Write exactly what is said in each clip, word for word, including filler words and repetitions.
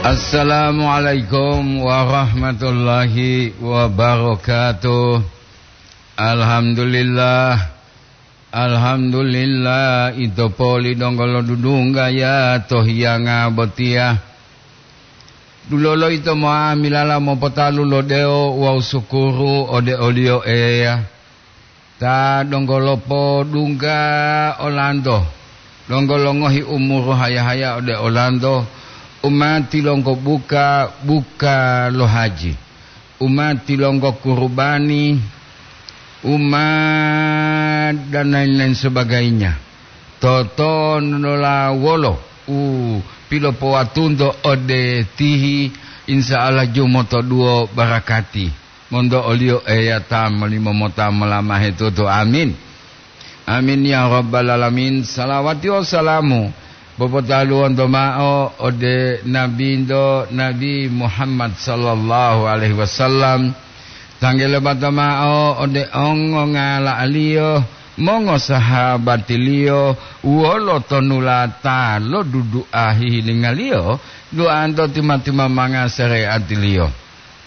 Assalamualaikum warahmatullahi wabarakatuh. Alhamdulillah. Alhamdulillah, ito poli donggo lo dudungga ya to hiyanga botiya. Dulolo ito mo'amilala mopotalu lo dewo wawu sukuru ode o-Liyo Eya. Ta donggo lopodungga olanto, donggo longohi umuru haya-haya ode olanto, u ma tilonggo buka, buka lo haji, u ma tilonggo kurubani, u ma dan lain-lain sebagainya. Totonulola wolo u pilopowatunto ode tihi, insya Allah jumotoduwo barakati. Monto o-Liyo Eya ta molimo mota molamahe tutu. Amin. Amin ya rabbal alamin. Salawati wawu salamu popotaluwonto ma'o ode Nabinto, Nabi Muhammad sallallahu alaihi wasallam. Tanggele bata ma'o ode ongongala'aliyo, mongosahabatiliyo, wolo tonulata lo dudu'a hihilingaliyo, duanto tima-timamanga sareatiliyo.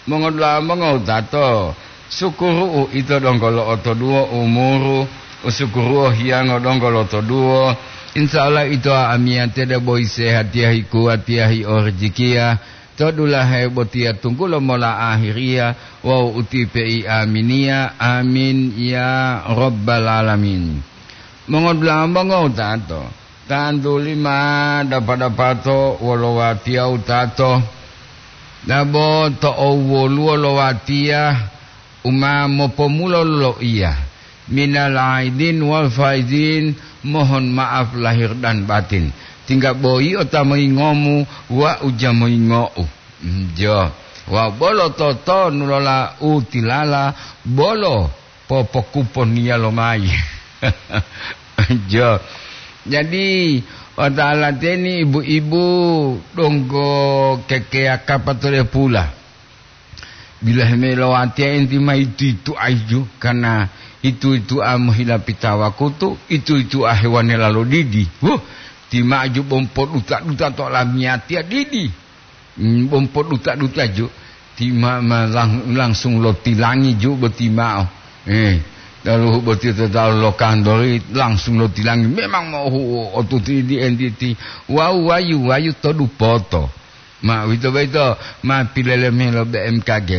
Mongodula'a mongowutato, sukuru'u ito donggo lo'otoduwo umuru, u sukuru'o hiyango donggo lotoduwo. Insya Allah ito amiyatiya debo hisehatiya, hikuwatiya, hiorijikiya, to dulahe botiya tunggulo mola ahiriya wawu utipe'i aminiya. Amin ya rabbal alamin. Mongodula'a mongowutato, tantuli ma dapa-dapato wolo watiya wutato, dabo to owoluwo lo watiya u ma mopomulo loiya, "Minal aidin wal faizin, mohon maaf lahir dan batin." Tingga boyio ta moyingomu, wa'u ja moyingo'u. Jo, wawu bolo totonulola u tilala, bolo popokuponiya lomayi. Jo. Jadi, otalateni ibu-ibu donggo kekeya kapa to lepula. Bilahe me lo watiya enti ma itu-itu aiju, karena itu-itu a mohilapita wakutu, itu-itu a hewanela lo didi. Wuh, timaju bompo duta-duta to lamiyatiya didi. Mm, bompo duta-duta ju, ti ma, ma lang-, langsung lotilangi ju boti ma'o. Eh, taluhu boti to talu lo kantori, langsung lotilangi. Memang mohu otuti di entiti. Wawu wayu, wayu to dupoto. Ma uwito boyito, ma pileleme lo B M K G,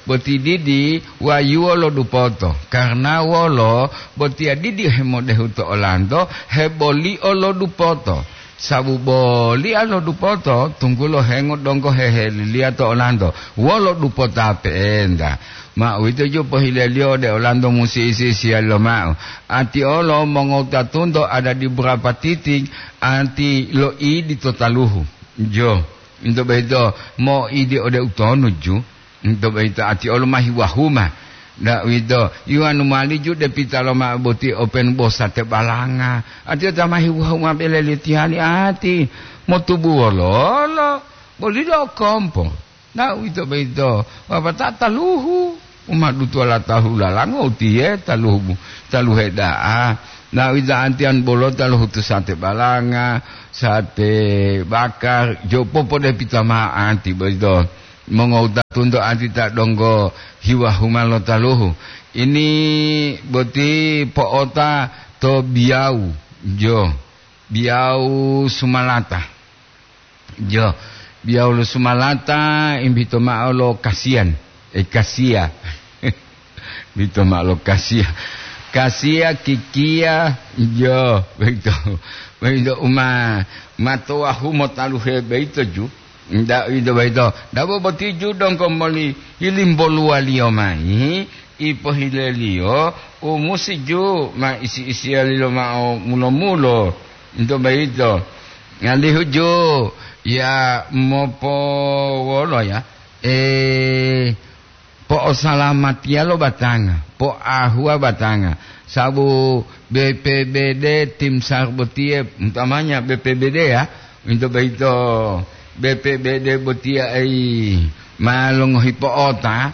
boti didi wayuwo lo dupoto. Karena wolo, botiya didi hemodehu to olanto, hebolio lo dupoto. Sabu bolia lo dupoto, tunggulo hengo donggo heheliliya to olanto. Wolo dupota pe'enta. Ma uwito ju pohileliyo ode olanto musi isi-isiyali loma'o. Ati olo mongowutatunto adadi burapa titing, ati loidi to taluhu. Jo, into boyito moidi ode utonu ju. Nto boyito ati olo ma hiwahuma. Nda uwito, iwanu mowali ju depita loma'o boti openu bo sate balanga. Ati ota ma hiwahuma bele litihani ati, motubu wololo, boli lo kompo. Nda uwito boyito, wapata taluhu, uma dutuwala taluhu lalango utiye taluhu, taluhe da'a. Nda uwito antiyan bolo taluhu to sate balanga, sate bakar, jo popodepita ma'o anti boyito. Mongowutatunto ati ta donggo hiwahuma lo taluhu. Ini boti po'ota to biyau, jo, biyau sumalata. Jo, biyau lo sumalata imbito ma'o lo kasiyan, eh, kasiya. Bito ma'o lo kasiya. Kasiya, kikiya, jo, boyito. Boyito uma matowahu motaluhe boyito ju. Nda uwito boyito, dabo boti ju donggo moli hilimboluwaliyo mayi, ipohileliyo u musi ju ma isi-isiyaliyo ma'o mulo-mulo. Nto boyito, alihu ju ya mopowolo ya, eh, po'osalamatiya lo batanga, po'ahuwa batanga, sabu B P B D tim sar botiye, utamanya B P B D ya, uwito boyito B P B D botiya ei ma longohi po'ota,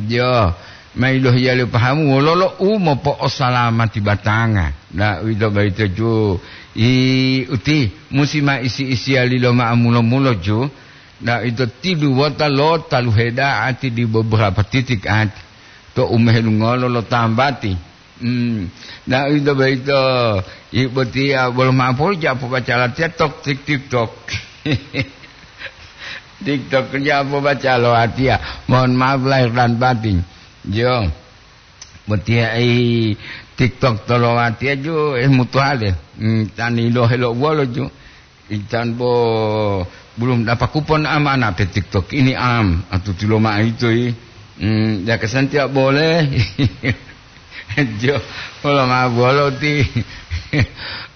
jo, ma ilohiyaliyo pahamu wololo u mopo'osalamati batanga. Na uwito boyito ju, i uti musi ma isi-isiyaliyo ma'o mulo-mulo ju, Na ito tidu wota lo taluhe da'ati di beberapa titik ati to umehelungolo lo tambati. Hmm. Na ito boyito, ibotiya bolo mapoli ja pobaca latiya tok tik tik tok. TikTok ja pobaca lo atiya. Mohon maaf lahir dan batin. Jo. Botiya ei TikTok to lo atiya jo, eh, mutuhale. Hmm, tani lo helo wolo jo. Intan bo belum dapat kupon amanah pe TikTok ini am, atuti lo ma'o ito yi. Hmm, ya kesan tidak boleh. Jo, olo ma bolo ti.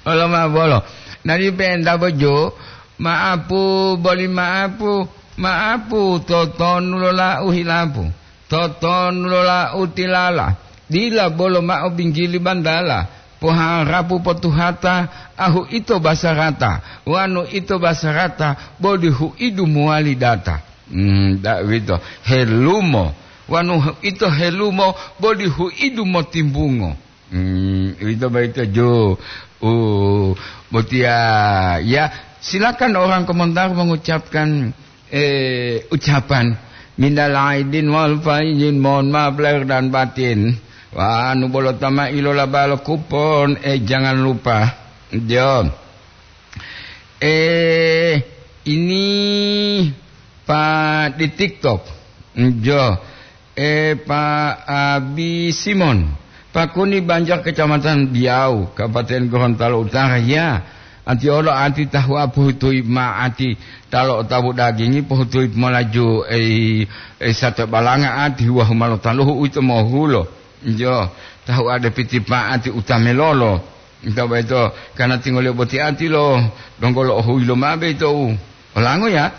Olo ma bolo. Nari penta bo jo, maapu, boli maapu, maapu, totonu lo lau hilapu. Totonu lo lau tilala. Dila bolo ma'o binggili bantala, poharapu potuhata, ahu ito basarata, wanu ito basarata, boli hu'idu mowali data. Hmm, da uwito, helumo, wanu hu-, ito helumo, boli hu'idu motimbungo. Hmm, uwito boyito jo, u, botiya, ya, silakan orang komentar mengucapkan eh, ucapan minal aidin wal faizin, mohon maaf lahir dan batin. Wah, anu bolo tama ilola balo kupon, eh, jangan lupa. Jo. Eh, ini Pak di TikTok. Jo. Eh, Pak Abi Simon, Pakuni Banjar, Kecamatan Diau, Kabupaten Gorontalo Utara, ya. Anti olo anti tahu'a pohutui ma anti talo otabu dagingi pohutui molaju, eh, eh, sate balanga anti huwa humalo taluhu uwito mohulo. Jo, tahu'a depiti pa anti utamelolo. Ito boyito, karena tingoliyo boti anti lo donggo lo ohuyi lo mabe ito u olango, ya.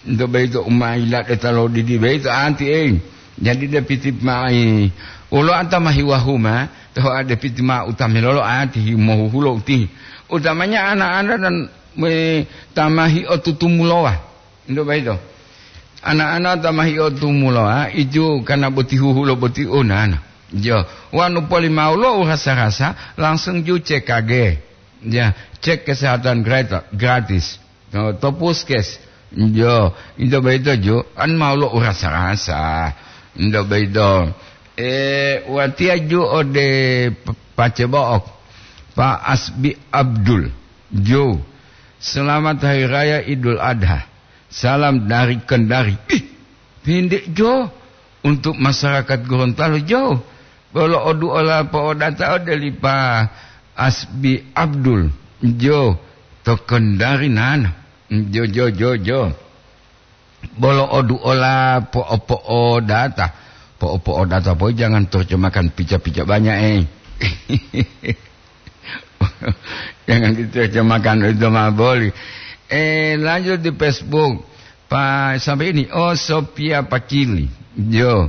Nto boyito u ma yilade ta lodidi boyito anti, ei. Jadi depiti ma'i wolo anta ma hiwahuma, toho a depiti ma utamilolo anti hi-, mohuhulo utihi. Utamanya ana-ana dan me-, ta ma hiotutumulowa. Nto boyito. Ana-ana ta ma hiotumulowa, iju kana boti huhulo boti onana. Jo, wanu polimaulo u rasa-rasa, langsung ju C K G. Ya, cek kesehatan grata-, gratis. To, to puskes. Jo, ito boyito ju, an ma wolo u rasa-rasa. Ito boyito. Eh, watiya ju ode p-, pace bo'ok. Pak Asbi Abdul. Jo. Selamat Hari Raya Idul Adha. Salam dari Kendari. Ih, pendek jo untuk masyarakat Gorontalo jo. Bolo oduola po'odata ode li Pa Asbi Abdul, jo, to Kendari nana. Jo, jo, jo, jo. Bolo oduola po'o-po'odata. Po'o-po'odata poi jangan terjemahkan pica-pica banyak, eh. Jangan diterjemahkan itu mah boleh. Eh, lanjut di Facebook. Pak, sampai ini. Oh, Sophia Pakili. Yo.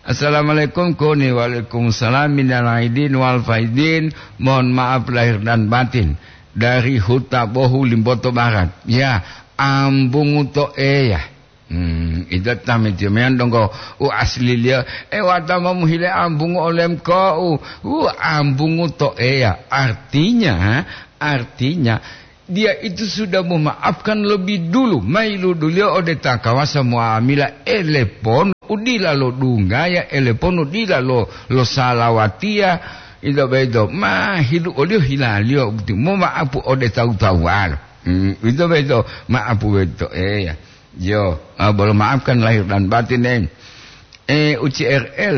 Assalamualaikum, Koni. Waalaikumsalam. Minal aidin wal faidin. Mohon maaf lahir dan batin. Dari Huta Bohu, Limboto Barat. Ya, ambungu to eya. Hmm, ito tametiyo meyan donggo u asli liyo. E, wata momuhile ambungu olem ko u, u ambungu to eya. Artinya, artinya, Dia itu sudah memaafkan lebih dulu, mailuduliyo ode ta kawasa muamila elepon u dila lodunggaya, elepon u dila lo, losalawatiya, ito boyito, ma hilu oliyo hilaliyo boti moma'apu ode tawu-tawuwalo. Hmm, ito boyito, ma'apu boyito, eya. Yo, ah, bolo maafkan lahir dan batin, eh. Eh, U C R L.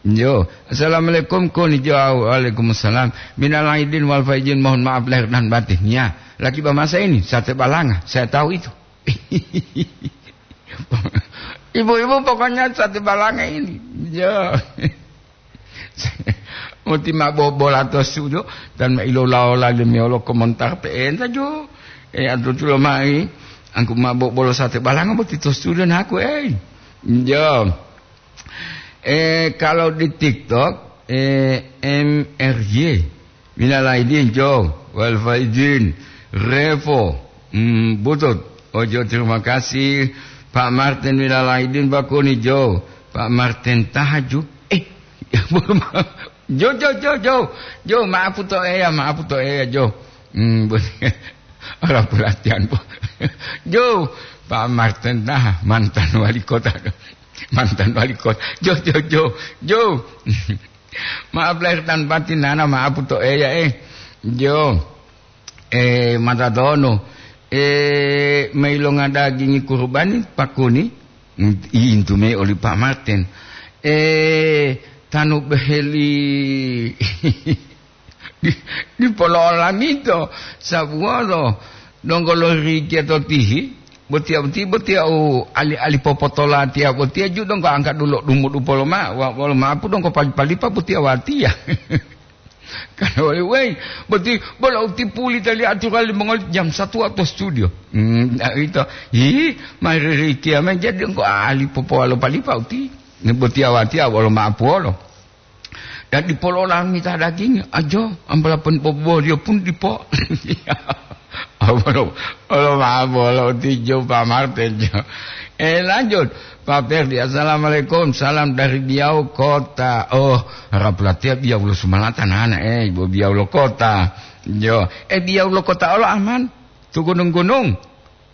Yo, assalamualaikum, Koni. Jo, waalaikumsalam. Minal aidin wal faizin, mohon maaf lahir dan batin. Ya, lagi ba masa ini, sate balanga, saya tahu itu. Ibu-ibu pokoknya sate balanga ini. Yo. Muti ma bobola to sudo, dan ma ilola-ola limiyolo komentar pe'enta jo. E, atutulo mai, angku ma bobolo sate balanga boti to sudo naku, ei. Yo. Eh, kalau di TikTok, eh, M R Y, minal aidin, Jo, wal faizin, Revo, hmm, Butut. Oh, Jo, terima kasih. Pak Martin, minal aidin, Bakuni, Jo. Pak Martin Tahaju. Eh, Jo, Jo, Jo, Jo. Jo, maaf to eya, maaf to eya, Jo. Hmm, orang pelatihan, Bu. Jo, Pak Martin, ah, mantan wali kota. Mantan wali kota. Jo, jo, jo, jo. Maaf lahir dan batin, nana, maaf to Eya, eh. Jo. Eh, mata tono. Eh, mailonga dagingi kurubani pakuni. Intu me oli Pak Martin. Eh, tanu beheli. Di, dipolo olamito, sabuwolo, donggo lorikiya to tihi, botiya boti, botiya u ali-ali popotola tiya botiya ju donggo angka dulo dumudu polo ma, wa-, wolo mapu donggo pali-palipa botiya watiya. Kan wali, wei, boti bolo uti puli tali aturan limongoli jam satu atau studio. Hmm, nah, ito, hi, mari rikiya men jadi donggo ali popowalo palipa uti. Ni botiya watiya wolo mapu wolo. Dan dipo lo olamita dagingi, ajo, ambala pun bobo dia pun dipo. Apa lo, lo ma bolo tijo Pak Martin jo. Eh, lanjut. Pak Ferdi, assalamualaikum. Salam dari Biau Kota. Oh, harap latihan Biau lo Sumalata nana, eh, ibu Biau lo Kota. Jo, eh, Biau lo Kota olo aman. Tu gunung-gunung.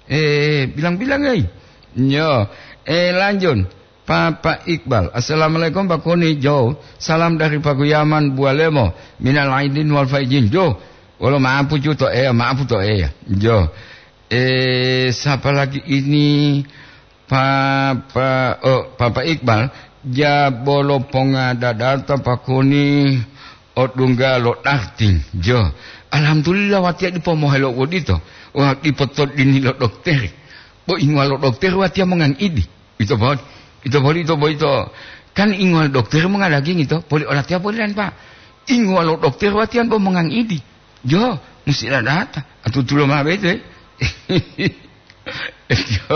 Eh, bilang-bilang, eh. Jo, eh, lanjut. Papa Iqbal, "Assalamualaikum, Pak Koni, Jo. Salam dari Paguyaman, Bualemo. Minal aidin wal faizin, Jo. Wolo maapu ju to Eya, maapu to Eya, Jo." Eh, siapa lagi ini? Papa, oh, Papa Iqbal, ja bolo ponga dadata Pak Koni odungga lo darting, Jo. Alhamdulillah, watiya dipo mohelo wodito. Wah, dipo to dini lo dokter. Bo inguwa lo dokter watiya mongang idi. Ito boli, ito boli, ito boyito. Kan inguwa lo dokter monga daging ito, poli olatiya poli lan, Pak. Inguwa lo dokter watiyan bo mongang idi. Jo, musti ladata. Atutulo ma bete. Jo,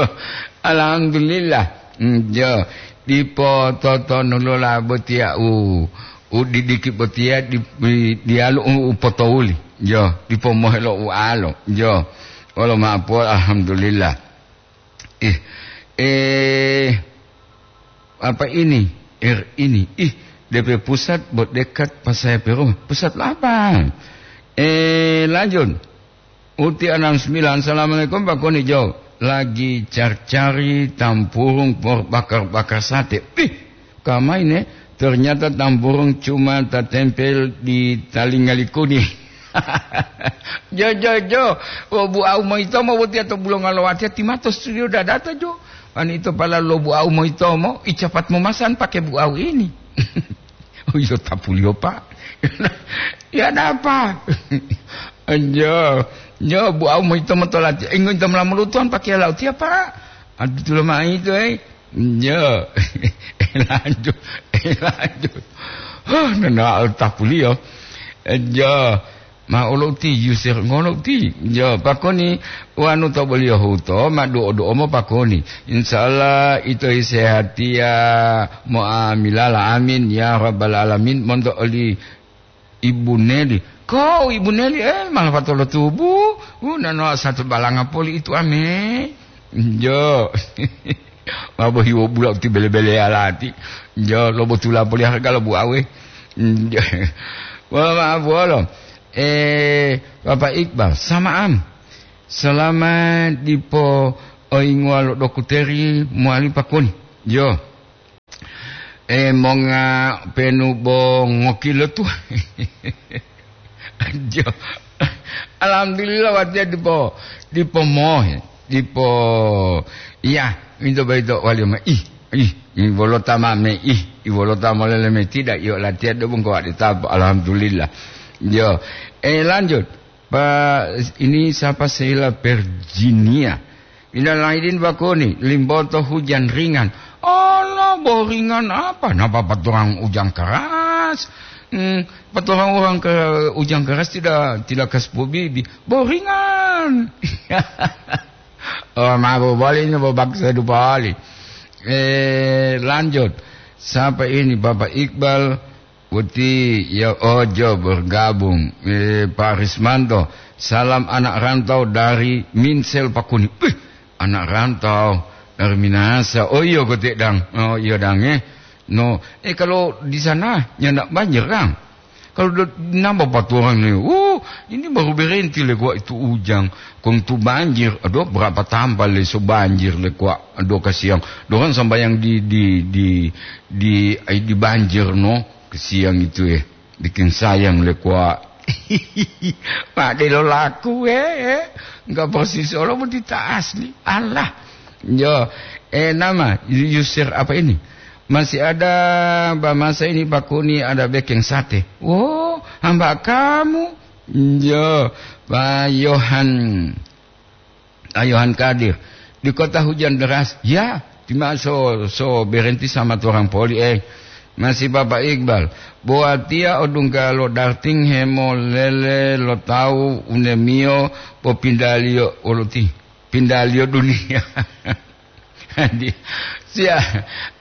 alhamdulillah. Hmm, jo, dipo totonulola botiya u, u didiki botiya di, di, diyalu u, u potowuli. Jo, dipo mohelo u alo. Jo, wolo ma'apo, alhamdulillah. Eh, eh, apa ini? Er ini. Ih, D P pusat buat dekat pas saya perumah. Pusat apa? Eh, lanjut. Uti enam sembilan, "Assalamualaikum, Pak Koni, Jo. Lagi cari-cari tampurung por bakar-bakar sate." Ih, kamai ne, ternyata tampurung cuma tatempel di talinga likuni. Jo, jo, jo. Wo buau moyitomo botiya to bulonga lo watiya timato studio dadata, Jo. Ani ito pala lo buau moyitomo, icapat momasan pakai buau ini. Oh, iyo tapuliyo, Pak. Ya, ada apa? Jo, jo, buau moyitomo to latiya. Ingo ito molamu lutuwan pakai lau tiya, Pak. Adu tulo mai itu, eh. Jo. Lanjut, lanjut. Huh, nana tapuliyo. Jo. Ma olo uti, yusir ngono uti. Jo, Pak Koni, wanu to boliyo huto, ma duo-duo mo Pak Koni. Insya Allah, ito sehatiya mo'amilala. Amin, ya rabbal alamin. Monto oli Ibu Neli. Ko Ibu Neli, eh, malah patolo tubu. Uh, nano satu balanga poli itu ame. Jo. Mabo hiwo bula uti bele-bele alati. Jo, lobo tula poli harga lobu awe. Jo. Wah, maaf, wolo. Eh, Bapak Iqbal, sama'am. Selama dipo oinguwa lo dokuteri mowali Pak Koni. Jo. Eh, monga penu bo ngokilo tu. Jo. Alhamdulillah, watiya dipo, dipo mohe, dipo, iya, ito boyito wali ma, ih, ih, i wolota ma me, ih, i wolota molele me, tidak, iyo latiya do bungko wadi tapo, alhamdulillah. Jo, eh, lanjut. Pak, ini siapa, Sheila Virginia? Minal aidin Pak Koni, limboto hujan ringan. Allah, bo ringan apa? Napa paturang hujan keras? Hmm, paturang orang ke hujan keras tidak, tidak kasih bibi. Bo ringan. Oh, mabo boli ini bo baksa dupali. Eh, lanjut. Siapa ini, Bapak Iqbal? Uti, ya, ojo bergabung. Eh, Pak Rismanto, salam anak rantau dari Minsel Pakuni. Wih, anak rantau dari Minasa. Oh, iya, kote, Dang. Oh, iya, Dang, eh. No, eh, kalau di sana nyandak banjir, Dang? Kalau do-, nambah paturangngi, uh, ini baru berhenti le kuwa itu ujang. Kong tu banjir, aduh, berapa tambah le so banjir le kuwa, aduh, kasiang. Dorang sambayang di, di, di, di, ai, di banjir, no, kasiang itu, eh. Bikin sayang le kuwa. Mak delo laku, eh, eh. Enggak persis olo pun tidak asli. Allah. Yo, eh, nama, Yusir apa ini? Masih ada, ba masa ini Pak Kuni ada bekeng sate. Oh, hamba kamu? Yo, Pak Yohan. Pak Yohan Kadir. Di kota hujan deras. Ya, tima so, so berhenti sama orang poli, eh. Masih Bapak Iqbal. Bo watiya odungga lo darting hemolele lo tawu unemiyo popindaliyo oluti. Pindaliyo duniya. Di-, sia,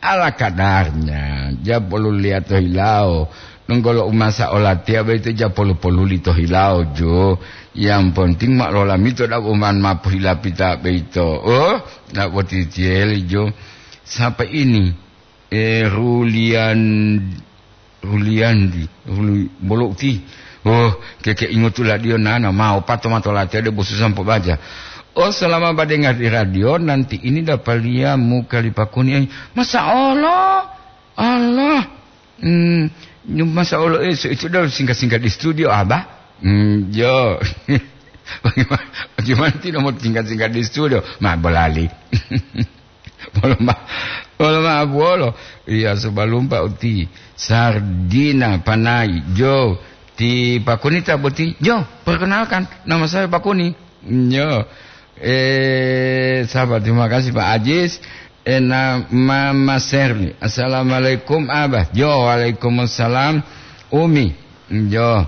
ala kadarnya, ja polu liya to hilawo. Nunggolo umasa olatiya boyito ja polu-poluli to hilawo, jo. Yang penting ma lolamito dabo man mapohilapita boyito. Oh, dabo titiyeli, jo. Sapa ini? Eh, Rulian-, Ruliandi, Ruli-, Bolo uti. Oh, keke ingotu ladiyo nana, ma opato mato latiya de bosu sampo baja. Oh, selama badengar di radio, nanti ini dapaliya muka li Pak Kuni, eh. Masa Allah? Allah. Hmm, nyu-, masa Allah, eh, so itu dah singkat-singkat di studio, Abah. Hmm, yo. Bagaimana, bagaimana tidak mau singkat-singkat di studio? Ma bolali. Bolo ma-, bolo ma buolo. Iya, sobalumpa uti. Sardina panai. Jo, ti Pak Kuni ta boti? Jo, perkenalkan, nama saya Pak Kuni. Jo. Eh, sahabat, terima kasih, Pak Ajis. Eh, na-, Mama Serli. Assalamualaikum, Abah. Jo, waalaikumsalam, Umi. Jo.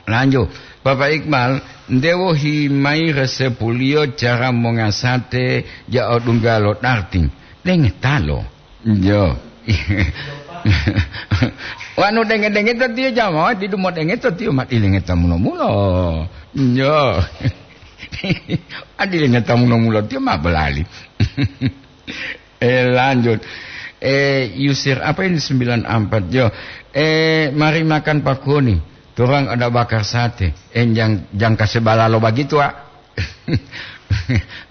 Lanjut, Bapak Iqbal, ndewo himayi resepuliyo cara mongasate ja odungga lo darting. Dengetalo. Yo. Wanu denge-dengeta tiyo jamawa, didu modengeta tiyo ma dilengeta mulo-mulo. Yo. Adilengeta mulo-mulo tiyo ma bolali. Eh, lanjut. Eh, Yusir, apa ini sembilan empat? Yo. Eh, mari makan Pak Kuni. Torang ada bakar sate. Eh, jang, jang kasebala lo bagitu, ah.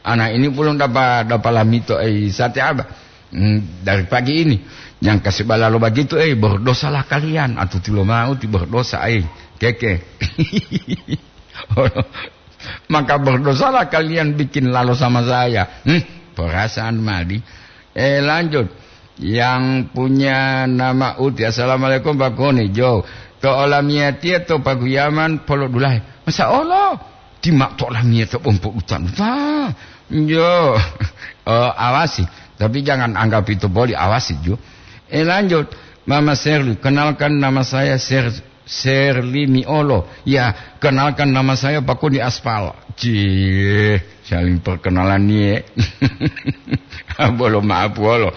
Anak ini belum dapat, dapat lamito, eh, sate apa? Hmm, dari pagi ini. Jang kasebala lo bagitu, eh, berdosalah kalian. Atau tulo mau ti berdosa, eh. Keke. Maka berdosalah kalian bikin lalo sama saya. Hmm, perasaan madi. Eh, lanjut. Yang punya nama Uti. Assalamualaikum, Pak Kuni. Jo. To olamiyatiya to paguyaman polodulahe. Masa Allah? Ti ma to olamiyatiya pompo utan-utan. Jo. Oh, awasi. Tapi jangan anggap itu boli. Awasi, Jo. Eh, lanjut. Mama Serli, kenalkan nama saya Ser-, Serli Miolo. Ya, kenalkan nama saya Pak Kuni Aspal. Cie, saling perkenalan nie. Bolo maaf, wolo.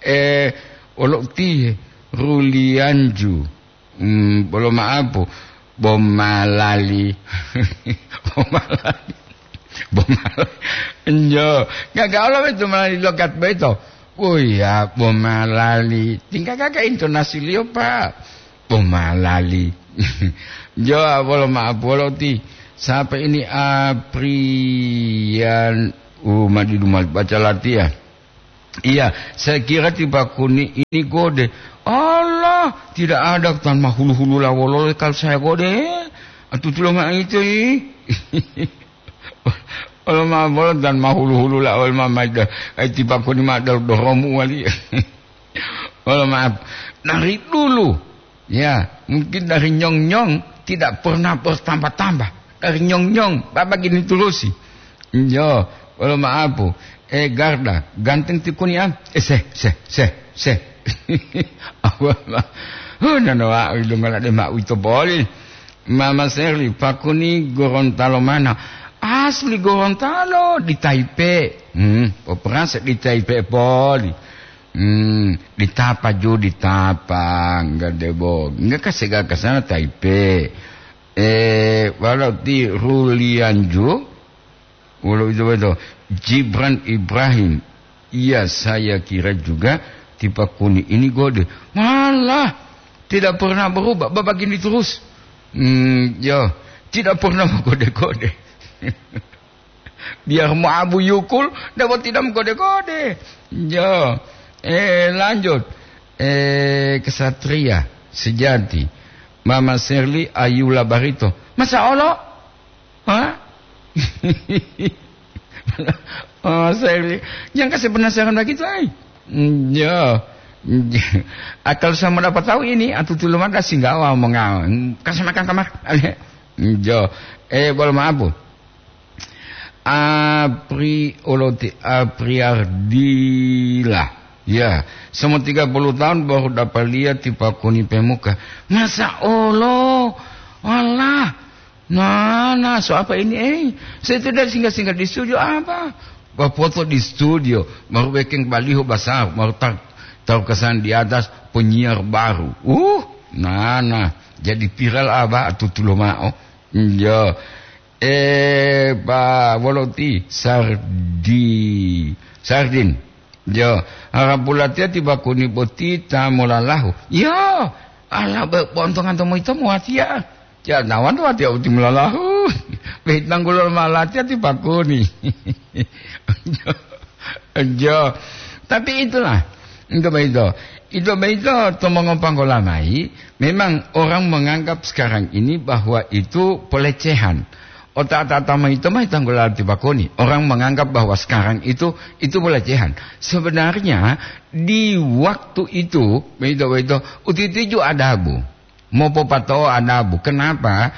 Eh, wolo ti Rulianju. Hmm, bolo maaf, Bomalali. Bomalali. Bomalali. Enjo. Enggak, enggak, Allah itu malali logat beto. Oh iya, Bomalali. Tinggal kakak intonasi liyo, Pak. Bomalali. Jo, bolo maaf, bolo ti. Siapa ini? Aprian. Uh, madidu mal baca latihan. Iya, saya kira tiba Kuni ini gode. Allah, tidak ada tan mahulu-hulu lawolole kalau saya gode. Atutulo ma itu, i. Olo ma bolo tan mahulu-hulu lawol ma maida. Ai tiba Kuni ma dal doromu wali. Olo maaf. Dari dulu, ya, mungkin dari nyong-nyong tidak pernah bertambah-tambah. Dari nyong-nyong, Bapak gini terusi. Yo, wolo maaf. Eh, Garda, ganteng ti Kuni am? Eh, seh, seh, seh, seh. Aku ma-, oh, nano wa, ilunga de ma uito boli. Mama Seri, Pak Kuni Gorontalo mana? Asli Gorontalo, di Taipei. Hmm, operasi di Taipei poli. Hmm, di Tapa ju, di Tapa, enggak debo. Enggak kasih ke sana Taipei. Eh, walau di Rulianju, walau itu betul. Gibran Ibrahim. Iya, saya kira juga tipe Kuni ini gode. Malah, Tidak pernah berubah, babagini terus. Hmm, ya, tidak pernah mengkode-kode. Biar mau abu yukul, dapat tidak mengkode-kode. Ya, eh, lanjut. Eh, kesatria sejati. Mama Serli Ayula Barito. Masa Allah? Hah? Oh, saya, jangan kasih penasaran begitu, ay. Ya. Akal sama dapat tahu ini, atau tuh lumada singgawa mengal. Kasih makan kamar. Ya. Eh, boleh maaf, Bu. Apri oloti Apriardila. Ya, semua tiga puluh tahun baru dapat lihat tipakuni pemuka. Masa Allah? Allah. Nah, nah, so apa ini, eh? Saya itu dari singgah-singgah di studio apa? Bapoto di studio, baru bikin baliho besar, baru tar-, taruh kesan di atas penyiar baru. Uh, nah, nah, jadi viral apa? Tutulo mao. Iya. Eh, Pak Woloti, Sardi-, Sardin. Yo, harapulatiya ti bakuni boti ta molalahu. Yo, ala be-, bontongan tomoyito muwatiya. Janawan watiya uti molalahu. Beitanggulo malatiya ti bakuni. Jo, jo. Tapi itulah, itu beito. Itu beito to mongopanggola mai, memang orang menganggap sekarang ini bahwa itu pelecehan. Otak-otak tama itu mah tanggulo ti bakuni. Orang menganggap bahwa sekarang itu, itu pelecehan. Sebenarnya, di waktu itu, beito-beito, utitiju adabu. Mopopatao adabu. Kenapa?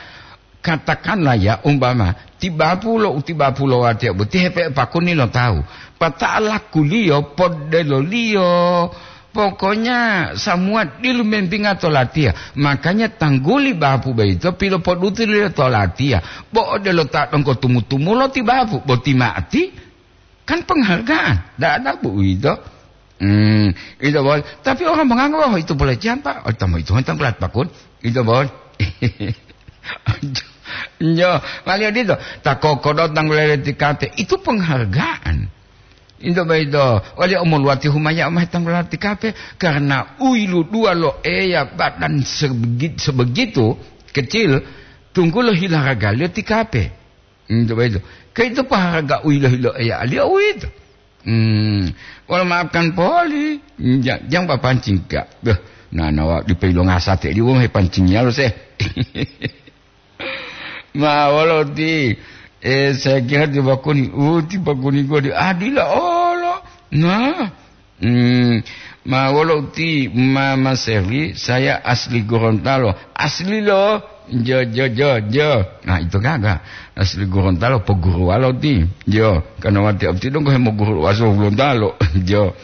Katakanlah ya, umpama, tibapulo, utibapulo watiya boti hepe pakuni lo tawu. Pata'alakuliyo, poddeloliyo. Pokoknya, samuwa dilu mempinga to latiya. Makanya, tangguli bapu boyito pilopodutuliyo to latiya. Bo odelo ta donggo tumu-tumulo ti bapu, boti ma'ati, kan penghargaan. Ndak ada bu uwito. Hmm, itu, Bos. Tapi orang menganggap, "Oh, itu pelecehan, Pak." Oh, tamu itu tanggulat pakun. Itu, Bos. Njo, wali odito, ta kokodo tanggulele ti kape. Itu penghargaan. Into boyito, wali omoluwati humaya mao tanggula ti kape, karena u yiluduwa lo Eya badan sebegi-, sebegitu kecil, tunggulo hilaragaliyo ti kape. Into boyito. Ke ito poharaga u yilo-hilo Eyaliyo uwito. Hmm, wolo maafkan poli. Ja-, jang papancing ka. Beh, nanawa dipe ilonga sate diwong hepancingiyalo se. Ma wolo uti, eh, saya kira ti bakuni, uh, ti bakuni gua di adila olo. Nah, hmm, ma wolo uti, Mama Sherly, saya asli Gorontalo. Asli lo. Jo, jo, jo, jo. Nah, itu gaga. Asli Gorontalo, poguru walo ti. Jo, karena wati abti dong ko hemoguru waso Gorontalo. Jo.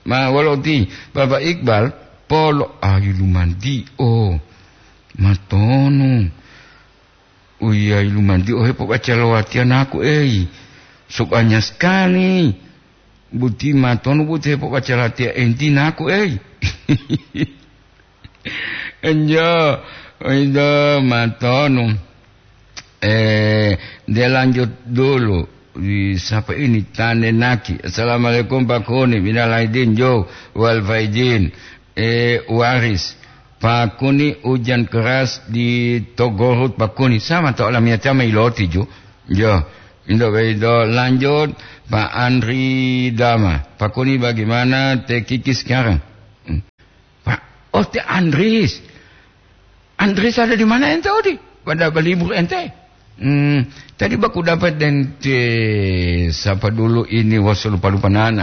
Ma wolo uti, Bapak Iqbal, polo ayu lumanti. Oh. Matonu. Uyayi lumanti ohe pobaca lo watiya naku, ei. Sobanya sekali. Buti matonu buti hepobaca latiya enti naku, ei. Enjo, ito matonu. Eh, dia lanjut dulu. Di, siapa ini? Tane Naki. Assalamualaikum, Pak Kuni. Minal aidin, jo. Wal faidin. Eh, Waris. Pak Kuni, hujan keras di Togorut, Pak Kuni. Sama to alamiyatiya ma iloti, ju. Jo. Indo, indo. Lanjut, Pak Andri Dama. Pak Kuni, bagaimana Teh Kiki sekarang? Hmm. Pak, oh, Teh Andris. Andris ada di mana ente, Odi? Pada berlibur ente? Hmm, tadi baku dapat dente, siapa dulu ini, wah, saya lupa-lupa nana.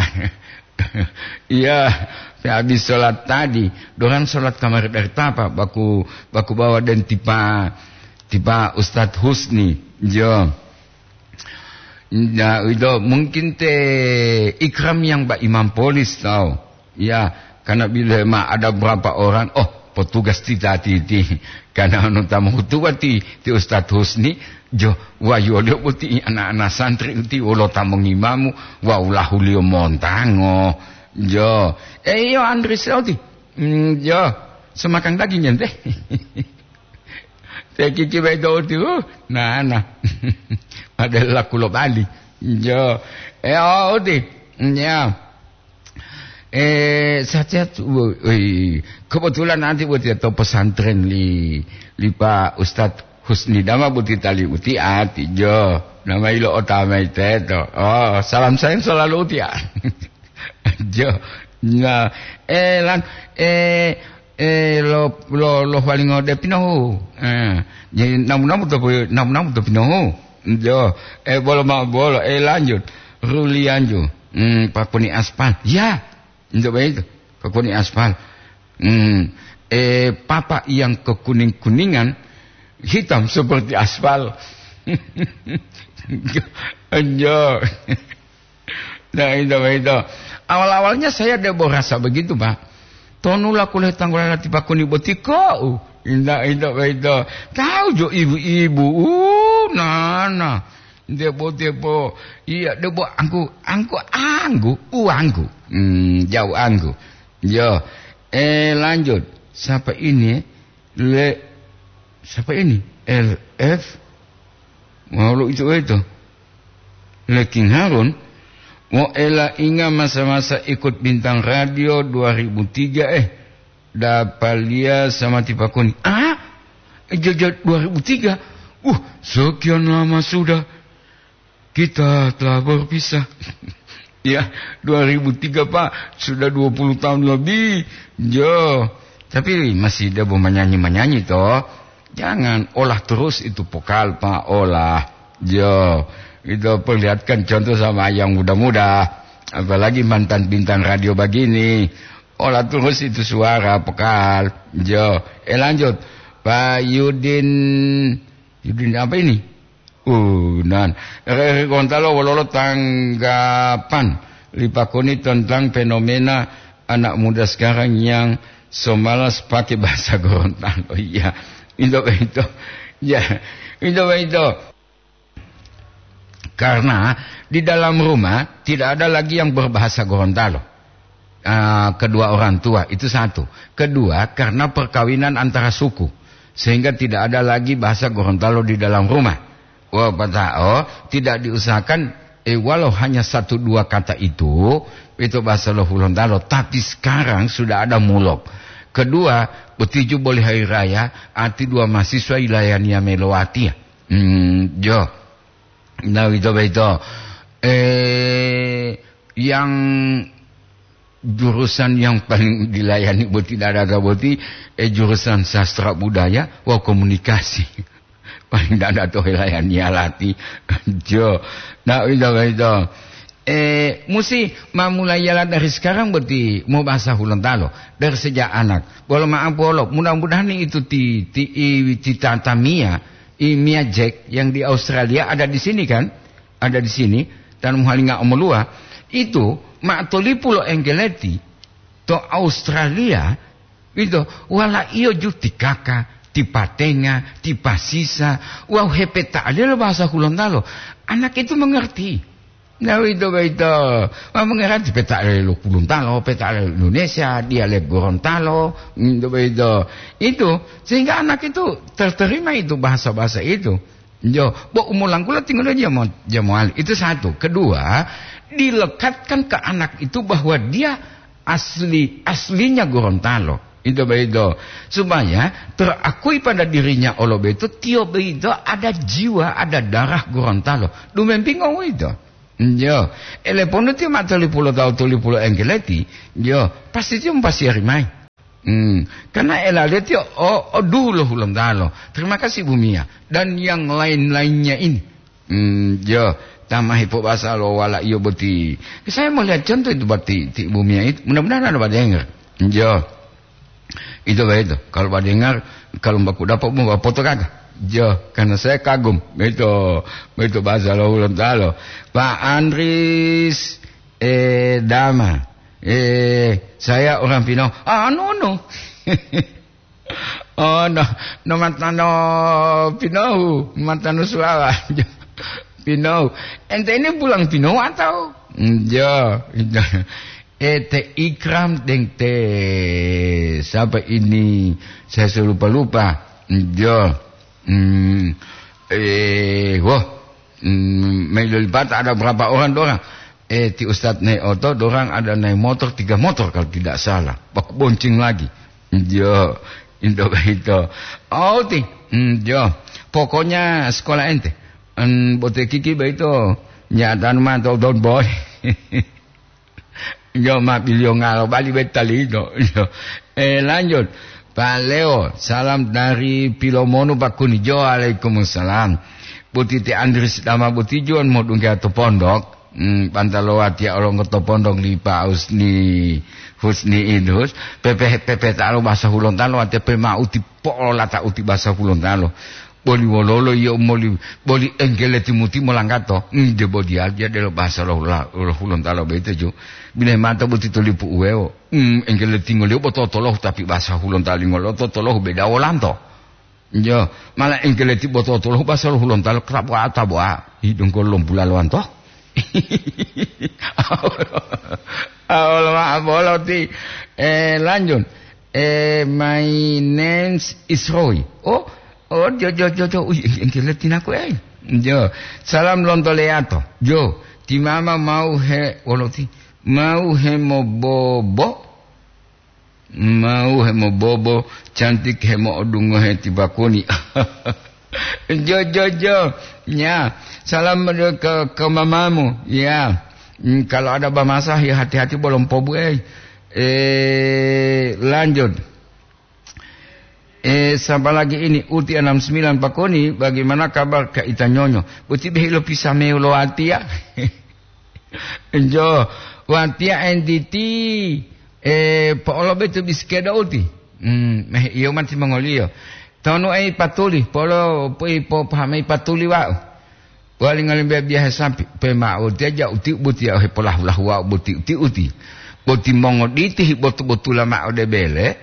Iya, saya habis sholat tadi. Dorang sholat kamari dari tapa, baku, baku bawa dan tipa, tipa Ustadz Husni. Jo. Nah, itu mungkin te Ikram yang Pak Imam Polis tahu. Ya, karena bila ma ada berapa orang, oh, petugas ti tati ti. Karena anu tamu hutuba ti, ti Ustadz Husni, jo, wa yolio boti anak-anak santri ti wolo tamu ngimamu, wa ulahuliyo montango. Jo, eh, iyo, Andri Soti. Hmm, jo, semakan daging ente. Teh Kiki bayi to uti, uh, nah, nah. Ada laku lo bali. Jo. Eh, oh, uti. Ya. Eh, sehat-sehat, wo-, woi, kebetulan nanti buat ya to pesantren li, li Pak Ustadz Husni Dama buti tali uti ati jo. Nama ilo otamai teto. Oh, salam sayang selalu uti ya. Jo. Nah, eh, lan, eh, eh, lo, lo, lo paling ode pinohu. Eh, jadi namu-namu to, namu-namu to pinohu. Jo. Eh, bolo ma bolo. Eh, lanjut. Rulianju. Hmm, pakuni aspal. Ya. Untuk begitu. Pakuni aspal. Hmm. Eh, papa yang kekuning-kuningan, hitam seperti aspal. Jo. Nah, itu, itu. Awal-awalnya saya debo rasa begitu, Pak. Tonu la kuliah tanggulala ti pakuni boti ko'u. Inda, inda, inda. Tahu jo ibu-ibu. Uh, nana. Debo, debo. Iya, debo anggu, anggu, anggu, uanggu. Hmm, jauh anggu. Yo. Eh, lanjut. Siapa ini? Le, siapa ini? L F. Mau lo itu, itu. Le King Harun. Mo ela inga masa-masa ikut bintang radio dua ribu tiga, eh. Dapalia sama tipakoni. Ah? Jejak dua ribu tiga. Uh, sekian lama sudah kita telah berpisah. Ya, dua ribu tiga, Pak. Sudah dua puluh tahun lebih. Jo. Tapi masih debo menyanyi-menyanyi, toh. Jangan olah terus itu vokal, Pak. Olah. Jo. Itu perlihatkan contoh sama yang muda-muda. Apalagi mantan bintang radio begini. Olah terus itu suara vokal. Jo. Eh, lanjut. Pak Yudin. Yudin apa ini? Uh, nan. Ere-ere Gorontalo wololo tanggapan lipakoni tentang fenomena anak muda sekarang yang so malas pakai bahasa Gorontalo. Iya. Itu, itu. Ya, itu, itu. Karena di dalam rumah tidak ada lagi yang berbahasa Gorontalo. Ah, kedua orang tua, itu satu. Kedua, karena perkawinan antara suku, sehingga tidak ada lagi bahasa Gorontalo di dalam rumah. Wah, pata'o, tidak diusahakan, eh, walau hanya satu dua kata itu, itu bahasa lo Hulontalo. Tapi sekarang sudah ada mulok. Kedua, betiju boleh hari raya, arti dua mahasiswa ilayania melowati ya. Hmm, jo. Nah, itu, itu. Eh, yang jurusan yang paling dilayani boti tidak ada boti, eh, jurusan sastra budaya, wah, komunikasi. Paling tidak ada toh layani alati. Jo. Nah, itu, itu. Eh, musi mamulai yala dari sekarang boti mau bahasa Hulontalo. Dari sejak anak. Bolo maaf, bolo. Mudah-mudahan itu ti, ti, i, ti tata Mia, i Mia Jack yang di Australia ada di sini kan? Ada di sini. Dan muhalinga omolua. Itu, ma tolipu lo Engkeleti, to Australia, gitu, wala iyo ju ti kaka, ti patenga, ti pasisa, wau hepeta'aliyo lo bahasa Hulontalo. Anak itu mengerti. Nah, itu, itu. Ma mengerti peta'aliyo lo Hulontalo, peta'aliyo lo Indonesia, dialek Gorontalo, itu, itu. Itu, sehingga anak itu terterima itu bahasa-bahasa itu. Jo, bo umulangkula tinggal aja mau, aja mau ahli. Itu satu. Kedua, dilekatkan ke anak itu bahwa dia asli, aslinya Gorontalo. Itu begitu. Supaya terakui pada dirinya olo begitu, tio begitu ada jiwa, ada darah Gorontalo. Dumempingo itu. Jo, eleponu ti ma tolipulo tawu tolipulo Engkeleti, jo, pasti ti mupasiari mai. Hmm, karena elaleti o, o duhu lo Hulontalo. Terima kasih, Bu Mia. Dan yang lain-lainnya ini. Hmm, jo, tamahi po basa lo wala iyo boti. Saya mau lihat contoh itu berarti ti Bu Mia itu. Mudah-mudahan ada badengar. Jo. Itu begitu. Kalau badengar, kalau baku dapat mau foto kagak? Jo, karena saya kagum. Begitu, begitu bahasa lo Hulontalo. Pak Andris, eh, Dama. Eh, saya orang Pinoh. Ah, no, no. Oh, no, no matano Pinohu, matano Suawa. Pinohu. Ente ini pulang Pinohu atau? Jo, itu. Eh, te Ikram deng te siapa ini? Saya selupa-lupa. Jo. Hmm. Eh, wah. Hmm, Mei Lolipata ada berapa orang, dua orang? Eh, ti Ustadz Neoto, dorang ada naik motor, tiga motor kalau tidak salah. Baku bonceng lagi. Jo, indo beito. Oh, ti. Hmm, jo. Pokoknya sekolah ente. En, bote kiki beito. Nyatan ma to don boy. Jo, ma bilio ngalo bali betalino. Jo. Eh, lanjut. Pak Leo, salam dari Pilomonu, Pak Kuni. Jo, waalaikumsalam. Boti ti Andris dama boti juan modungga to pondok. Hmm, bantalo watiya olongoto pondong li Pa Husni, Husni Idrus, pepe, pepe talo basa Hulontalo, watiya pe ma uti po'olata uti basa Hulontalo. Boli wololo iyo moli, boli engkele timuti molanggato. Hmm, de bodiya dia delo basa lo, lo, lo Hulontalo boyito ju. Bine mata boti to lipu uweo. Hmm, engkele tingoliyo bo totolohu tapi basa Hulontalo lingolo totolohu beda wolanto. Jo, mala engkeleti boto-tolo basa lo Hulontalo kerabu'a tabu'a, hidunggo lompula lowanto. Awolo ma'o bolo ti, eh, lanjut. Eh, my name is Roy. Oh, oh, jo, jo, jo, jo. Ui, engkeleti naku, eh. Jo, salam lonto leyato. Jo, ti mama mau he, wolo ti, mau he mobobo. Mau hemobobo, cantik hemo'odungohe ti bakuni. Jo, jo, jo. Ya, salam ke, ke mamamu. Ya. Hmm, kalau ada bamasa, ya hati-hati bolong pobu, eh. Eh, lanjut. Eh, siapa lagi ini? Uti enam sembilan Pakoni, bagaimana kabar Kak Ita Nyonyo? Boti behi lo pisameu lo watiya. Jo, watiya entiti, eh, po'olobe to bisikeda uti. Hmm, meh iyo mati mongoliyo. Tonu ei patuli, polo pui po pahamai patuli wa'u. Wali ngolimbe biyahe sampi, pe ma'o tiya ja uti boti ya ohe polahu-lahu wa'u boti uti-uti. Boti mongoditi hi botu-botula ma'o de bele,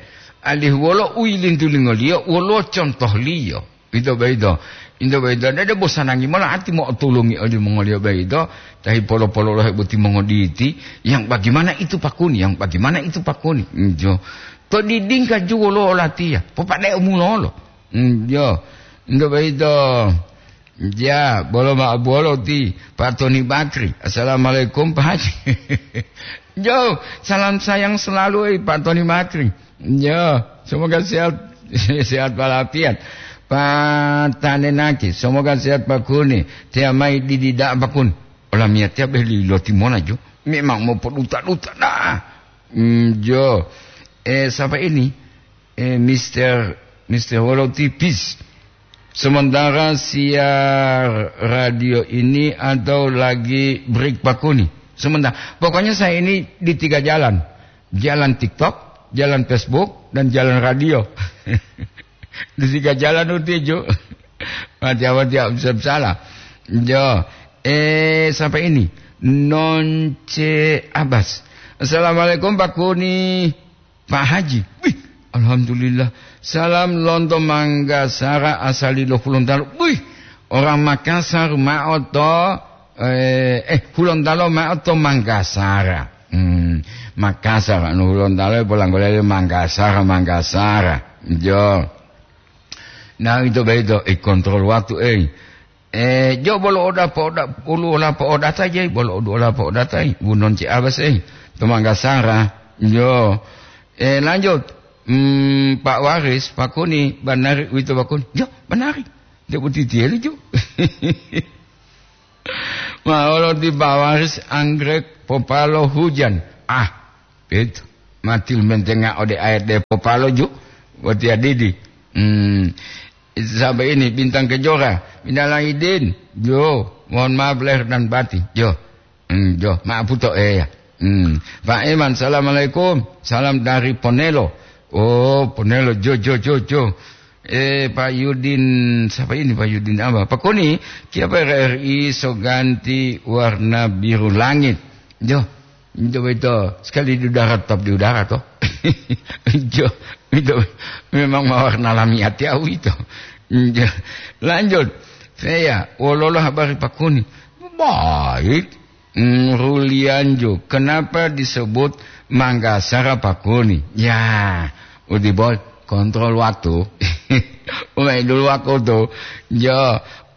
alihu wolo u yilintulingoliyo, wolo contohliyo. Ito boyito, ito boyito, dede bosanangi mola ati mo'otulungi olimongoliyo boyito, tahi polo-pololohe boti mongoditi, yang bagaimana itu pakuni, yang bagaimana itu pakuni. Injo. To didingka juwo lo olatiya, popade'o mulolo. Injo. Ito boyito, ja, bolo ma'o bolo ti Pak Toni Bakri. Assalamualaikum, Pak Haji. Jo, salam sayang selalu, eh, Pak Toni Bakri. Ya, semoga sehat, sehat walafiat. Patanenaki, semoga sehat Pak Kuni. Tiya mai didi da'a Pak Kuni. Olamiyatiya beli loti mona jo. Memang mau poduta-duta dah. Hmm, jo. Eh, siapa ini? Eh, Mister, Mister Wolo Tipis. Sementara siar radio ini atau lagi break Pak Kuni? Sementara. Pokoknya saya ini di tiga jalan. Jalan TikTok, jalan Facebook, dan jalan radio. Di tiga jalan uti, Ju. Mati awal tidak bisa salah. Jo. Eh, sampai ini. Nonce Abbas. Assalamualaikum, Pak Kuni. Pak Haji. Wih, alhamdulillah. Salam lonto Manggasara asali lo Hulontalo. Wih, orang Makassar ma'o to, eh, eh, Hulontalo ma'o to Manggasara. Hmm, Makassar, anu Hulontalo polanggolele Manggasara, Manggasara. Jo. Nah, itu begitu, eh, kontrol waktu, eh. Eh, jo bolo oda poda, ulu ola poda tai, bolo odu ola poda tai, bunon ci abas, eh. To Manggasara, jo. Eh, lanjut. Hmm, Pak Waris, Pak Kuni, banari, wito Pak Kuni. Jo, banari. Dia putih tieli, jo. Maolo di Pak Waris, anggrek, popalo, hujan. Ah, itu. Mati mentenga ode ayat de popalo, ju. Wati adidi. Hmm. Sampai ini, Bintang Kejora. Minal aidin. Jo, mohon maaf lahir dan batin. Jo. Hmm, jo, maaf puto, eh, ya. Hmm. Pak Iman, assalamualaikum. Salam dari Ponelo. Oh, Ponelo, jo, jo, jo, jo. Eh, Pak Yudin, siapa ini Pak Yudin apa? Pak Koni, kiapa R R I so ganti warna biru langit? Jo, jo, itu sekali di udara, tetap di udara, toh. Jo, itu memang warna lami hati aku itu. Jo. Lanjut. Saya, wololo habari Pak Koni? Baik. Hmm, Rulianjo, kenapa disebut Manggasara Pakuni? Ya, udibol, kontrol waktu. Umai dulu waktu. Jo,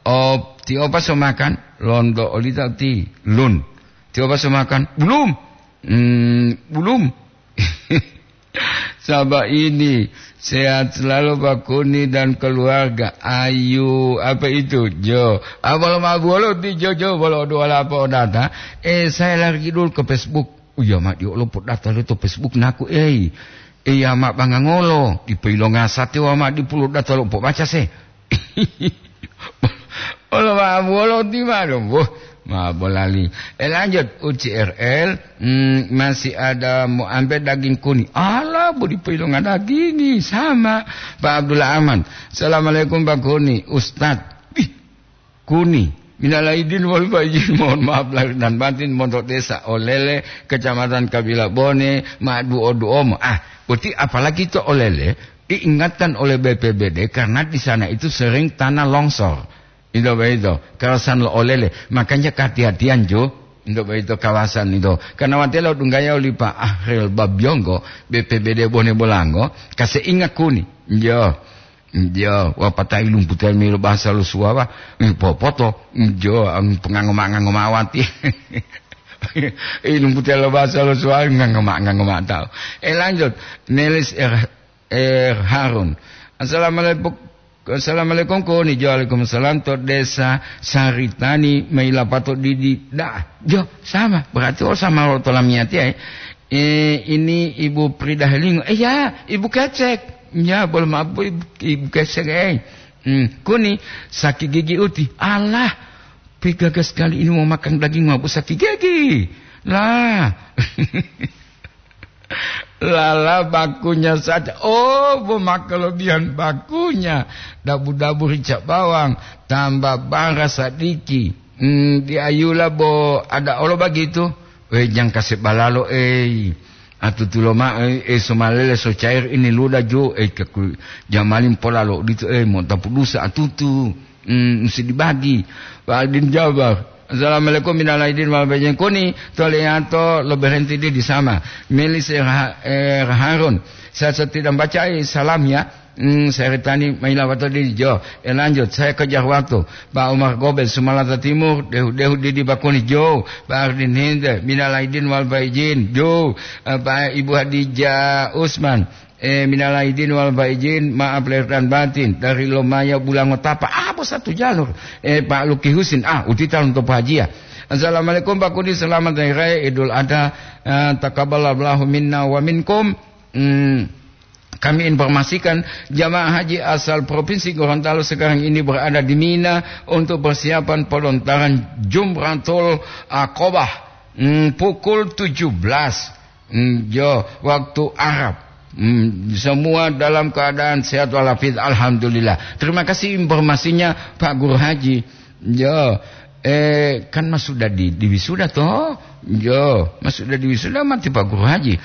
op, ti opa so makan, londo olita ti lun. Coba saya makan. Belum. Hmm, belum. Sahabat ini, sehat selalu Pak Kuni dan keluarga. Ayu, apa itu? Jo. Apa lo mabuolo ti Jo, Jo, bolo doa apa odata? Eh, saya lari dulu ke Facebook. Oh iya, mak, yo lo podata lo to Facebook naku, eh. Eh, ya, mak, bangangolo. Di peilonga sate wa, mak, di pulo data lo pobaca se. Olo ma wolo ti manu, boh, ma bolali. Eh, lanjut, U C R L, hmm, masih ada mau ambil daging Kuni. Alah, bodi poilonga dagingi, sama. Pak Abdullah Ahmad. Assalamualaikum, Pak Kuni. Ustadz. Wih, Kuni. Minal aidin wal faizin, mohon maaf lahir dan batin, montok desa Olele, Kecamatan Kabila Bone, ma duo-duomo. Ah, berarti apalagi to Olele, diingatkan oleh B P B D karena di sana itu sering tanah longsor. Itu begitu, kawasan lo Olele. Makanya kehati-hatian, Jo. Itu begitu kawasan itu. Karena watelo dunggaya oli Pak Ahril Babyonggo, B P B D Bone Bolango, kase ingat Kuni. Jo. Jo, wapata ilung putel milo bahasa lo suwawa, eh, popoto. Jo, ang pengangoma-ngangoma wati. Ilung putel lo bahasa lo suwawa, ngangoma-ngangoma tau. Eh, lanjut. Melis, eh, eh, Harun. Assalamualaikum. Assalamualaikum, Kuni. Jo, waalaikumsalam. To desa Saritani, Mailapato Didi. Dah, Jo, sama. Berarti, oh, sama lo to lamiyati, eh. Eh, ini Ibu Prida Helingo. Eh, ya, Ibu Kecek. Ya, boleh maaf, Bu, Ibu, Ibu Kecek, eh. Hmm, Kuni, sakit gigi uti. Alah, pegaga sekali ini mau makan daging, mau sakit gigi. Lah. Lala bakunya saja. Oh, bo ma kelebihan bakunya. Dabu-dabu rica bawang, tambah bara sadiki. Hmm, di ayula bo ada olo bagitu. Eh, jangka sebalalo, eh. Atutulo ma, eh, eh, somalele so cair ini luda jo, eh, keku-, jamalin polalo dito, eh, mo tapu dusa atutu. Hmm, mesti dibagi. Pak Aldin Jabar. Assalamualaikum, minal aidin wal faizin. Kuni, to Leyanto, lo berhenti di, di sama. Milis, eh, Raha-, eh, Harun. Saya, saya tidak baca, eh, salam ya. Hmm, saya retani maila waktu di Jo. Eh, lanjut, saya kejar waktu. Pak Umar Gobel, Sumalata Timur, dehu-dehu di, di Bakuni Jo. Pak Ardin Hinde, minal aidin wal faizin. Jo, eh, Pak Ibu Hadijah Usman. Eh, minal aidin wal faizin, maaf lahir dan batin, dari Lomaya Bulangotapa. Ah, bos satu jalur. Eh, Pak Luki Husin, ah, uti talon to Pak Haji ya. Assalamualaikum Pak Kudi, selamat hari raya Idul Adha. Eh, taqabbalallahu minna wa minkum. Hmm, kami informasikan jamaah haji asal Provinsi Gorontalo sekarang ini berada di Mina untuk persiapan pelontaran Jumratul Aqabah. Hmm, pukul tujuh belas. Hmm, jo, waktu Arab. Hmm, semua dalam keadaan sehat walafiat, alhamdulillah. Terima kasih informasinya, Pak Guru Haji. Jo, eh, kan mas sudah di, di wisuda toh? Jo, mas sudah di wisuda mati Pak Guru Haji.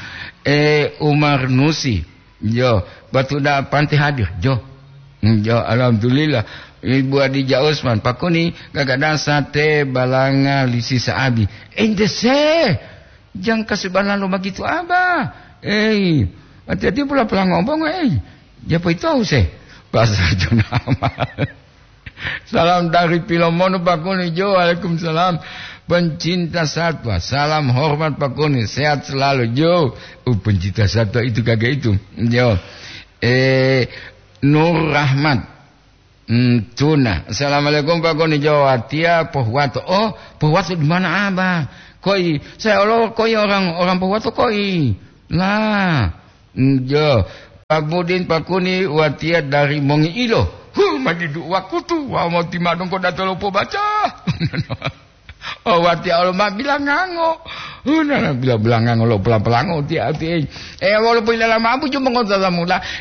Eh, Umar Nusi. Jo, batu da panti hadir. Jo. Hmm, jo, alhamdulillah. Ibu Adija Usman, Pak Kuni, gagada sate balanga lisi saabi. Ente se. Jang kasi balalo magitu, Abah. Ei, hati-hati pula pelango bongo, ei. Japo ito se. Bahasa Jona amal. Salam dari Pilomono, Pak Kuni, Jo. Waalaikumsalam. Pencinta satwa, salam hormat, Pak Kuni. Sehat selalu, Jo. Uh, pencinta satwa itu kagak itu. Jo. Eh, Nur Rahmat. Hmm, tuna. Assalamualaikum, Pak Kuni, Jo. Watia Pohuwato. Oh, Pohuwato di mana, Abah? Koi, saya olo koi orang, orang Pohuwato koi. Lah, hmm, jo. Pak Budin, Pak Kuni, watia dari Mongi Ilo. Huh, madidu wakutu, wa mau timadong ko datolo pobaca. Oh, wati Allah ma bilangango. Hunana bila bilangango lo pelang-pelango ti ati, eh. Eh, walaupun dalam abu cuma kota mula. Eh,